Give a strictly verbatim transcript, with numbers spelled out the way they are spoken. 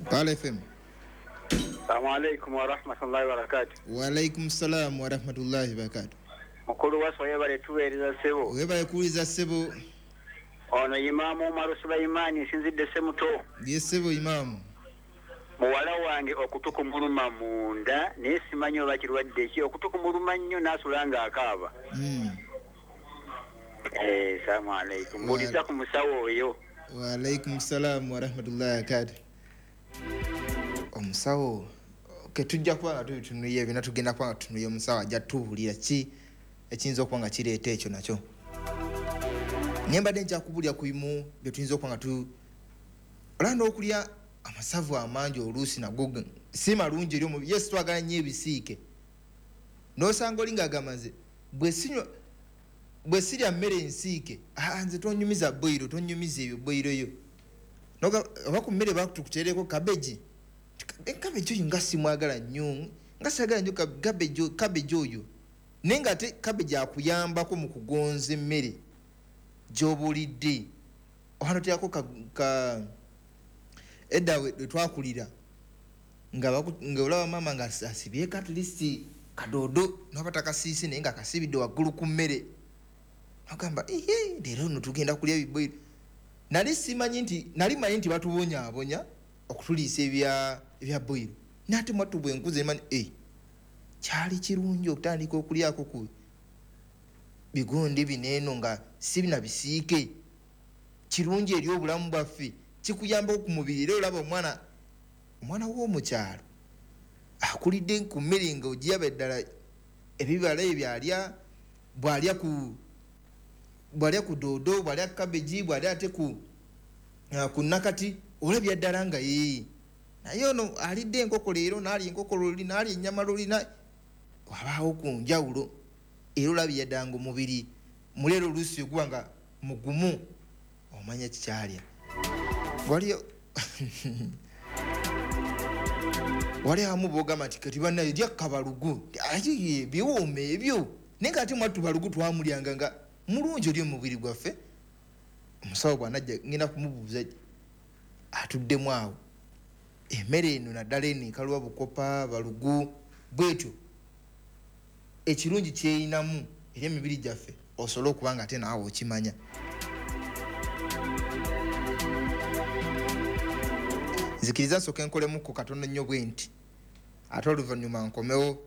Pala F M. Assalamu alaikum wa rahmatullahi wa barakatuh. Wa alaikum salam wa rahmatullahi wa barakatuh. Mukulu waso yebale tuweereza ssebo. Webale kuwuliza ssebo. Ono Imaamu Umaru Sulaimani nsinzidde Ssemuto. Ye ssebo Imaamu. Muwala wange okutu kumuluma munda naye simanyi oba kirwadde ki, okutu kumuluma nnyo n'asula ng'akaaba. Mm. Eh, assalamu alaikum. Mbuuliza ku musawo oyo. Wa alaikum salam wa rahmatullahi wa barakatuh. Omusawo ke tujja kuba nga tubitunuye byonna, tugenda kuba nga tutunuye omusawo ajja tubuulira ki ekiyinza okuba nga kireeta ekyo nakyo. Naye mbadde nkyakubulira ku bimu bye tuyinza okuba nga tu olaba n'okulya amasavu amangi oluusi nago si malungi eri omubiri. Yes, twagala nnyo ebisiike, n'osanga oli ng'agamba nze bwe sinywa bwe sirya mmere ensiike, aa nze tonyumiza boyiro, tonyumiza ebyo boyiro yo. Oba ku mmere bakutukuteereko kabeji, kabeji oyo nga simwagala nnyo, nga saagala nnyo kabeji, kabeji oyo, naye ng'ate kabeji akuyambako mu kugonza emmere gy'oba olidde. Oba noteekako ka, ka edda we twakulira nga nga olaba maama nga asibyeko at least kadoodo n'oba takasiise naye nga akasibidde waggulu ku mmere, agamba ihe leero nno tugenda kulya ebiboyiro. Nali simanyi nti nali manyi nti batubonyaabonya okutuliisa ebya ebya boyiro, naye ate mwattu bwe nkuze manyi eh, kyali kirungi okutandika okulyako ku bigundi bino eno nga si bina bisiike, kirungi eri obulamu bwaffe, kikuyambako ku mubiri. Era olaba omwana omwana w'omukyalo akulidde ku mmere nga ogiyaba eddala ebibala ebyo alya, bw'alya ku bw'alya ku doodo, bw'alya ku kabeji, bw'alya ate ku uh, ku nakati, olabya ddala nga yee. Naye ono alidde enkoko leero, n'alya enkoko luli, n'alya ennyama luli, wabaawo ku njawulo. Era olabya ddala nga omubiri muleero oluusi oguba nga mugumu, omanya kikyalya. Waliyo wali abamu b'ogamba nti kati bannaye lya kabalugu, biwooma ebyo, naye nga ate mwattu balugu twamulyanga nga mulungi eri omubiri gwaffe. Omusawo bw'anajja ngenda kumubuuza atuddemu awo emmere eno, naddala eno ekaluba bukopa balugu bwetyo, ekirungi kyeyinamu eri emibiri gyaffe, osobole okuba nga ate naawe okimanya. Nzikiriza nsooke nkolemuko katono nnyo bwe nti, ate oluvannyuma nkomewo.